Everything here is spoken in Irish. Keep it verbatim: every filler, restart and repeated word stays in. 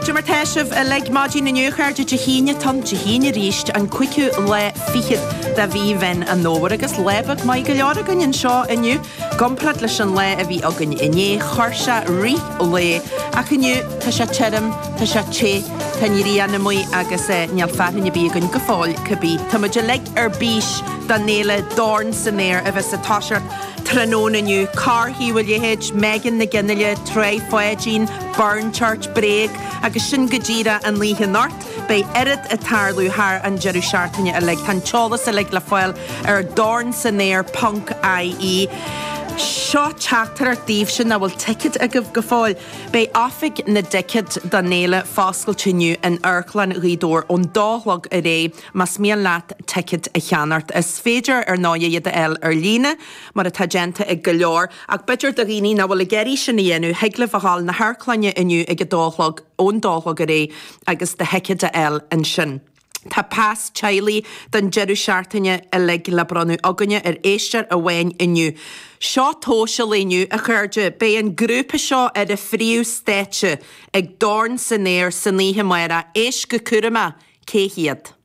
Cad é mar tá sibh uilig maidin inniu chairde Dé hAoine tom Dé hAoine arís an cúigiú lá fichead de mhí Mheán an Fhómhair agus lá beag maith go leor againn anseo inniu. I gcomparáid leis an lá a bhí againn inné chuir sé rith lae ach inniu tá sé tirim, tá sé te, tá an ghrian amuigh agus eh, níl fearthainn ar bith againn go fóill cibé. Tá muid uilig ar bís don fhéile Dorn san Aer a bheas ag toiseacht tráthnóna inniu, Carthaí bhfuil leithéid, Megan Nic Fhionnghaile, Tráth Pháidín, Burn Church, Bréag, agus sin go díreach an oíche anocht. Beidh oiread ag tarlú thar an deireadh seachtaine uilig. Tá an t-eolas uilig le fáil ar dornsanaer ponc IE. Seo teachtaireacht daoibhse nach bhfuil ticéad agaibh go fóill. Beidh oifig na dticéad don fhéile foscailte inniu in Amharclann Ghaoth Dobhair ón dó a chlog ar aghaidh más mian leat ticéad a cheannacht. Is féidir ar ndóigh iad a fháil ar líne mar atá déanta ag go leor, ach b'fhéidir do dhaoine nach bhfuil ag iarraidh sin a dhéanamh, thig libh a ghabháil na hamharclainne inniu ag a dó a chlog ón dó a chlog ar aghaidh agus do thicéad a fháil ansin. Tá pas teaghlaigh don deireadh seachtaine uilig le bronnadh againne ar éisteoir amháin inniu. Seo tomhais an lae inniu, a chairde, beidh an grúpa seo ar an phríomhstáitse ag Dorn san Aer san oíche amárach. Éist go cúramach, cé hiad?